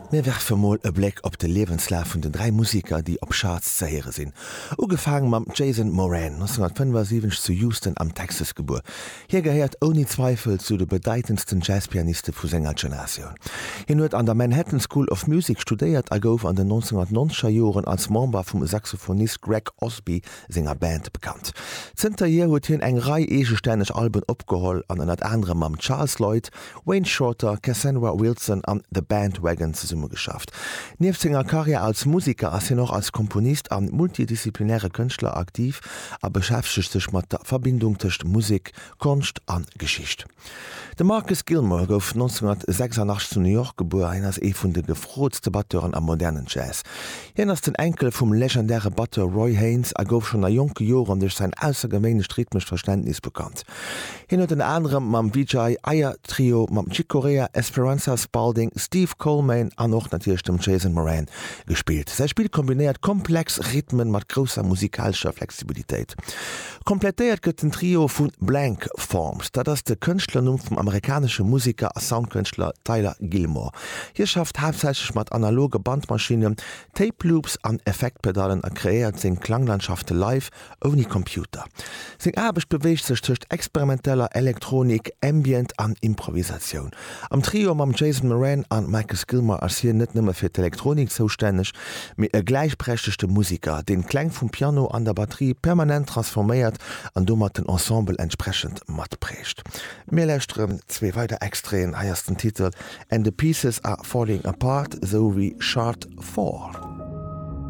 Mir werfe mol e Bléck op de Liewenslaf vun den 3 Museker, déi op Shards ze héiere sinn. Ugefaang mam Jason Moran, 1975 zu Houston am Texas gebuer. Hie gehéiert ouni Zweifel zu de bedeitendsten Jazzpianiste vu senger Generatioun. Hien huet an der Manhattan School of Music studéiert a gouf an den 1990er Joren als Member vum Saxophonist Greg Osby senger Band bekannt. Zënterhier huet hien eng Rei eegestänneg Alben opgeholl an ënnert anerem mam Charles Lloyd, Wayne Shorter, Cassandra Wilson an The Bandwagon zesummegeschafft. Nieft senger Karriär als Museker ass hien och als Komponist an multidisziplinäre Kënschtler aktiv a beschäftegt sech mat der Verbindung tëscht Musek, Konscht an Geschicht. De Marcus Gilmore gouf 1986 zu New York gebuer. Hien ass ee vun de gefrootste Batteuren am modernen Jazz. Hien ass den Enkel vum legendäre Batteur Roy Haynes a gouf schonn a jonke Joren duerch säin aussergewéinlecht rhythmescht Verständnis bekannt. Hien huet ënner anerem mam Vijay Iyer Trio, mam Chick Corea, Esperanza Spalding, Steve Coleman an och natierlech dem Jason Moran gespillt. Säi Spill kombinéiert komplex Rhythmen mat grousser musikalescher Flexibilitéit. Komplettéiert gëtt den Trio vu Blank Forms, dat ass de Kënschtlernumm vum amerikanesche Museker a Soundkënschtler Tyler Gilmore. Hie schafft haaptsächlech mat analoge Bandmaschinnen, Tape Loops an Effektpedallen a kreéiert seng Klanglandschafte live Ouni Computer. Seng Aarbecht beweegt sech tëscht experimenteller Elektronik, Ambient an Improvisatioun. Am Trio mam Jason Moran an Marcus Gilmore ass hien net nëmme fir d'Elektronik zoustänneg, mee e gläichberechtegte Musiker, deen d'Kläng vum Piano an der Batterie permanent transforméiert an domat den Ensemble entsprechend matprägt. Mir lauschteren zwee weider Extraiten, hei ass den Titel And the Pieces Are Falling Apart esou wéi Chart 4.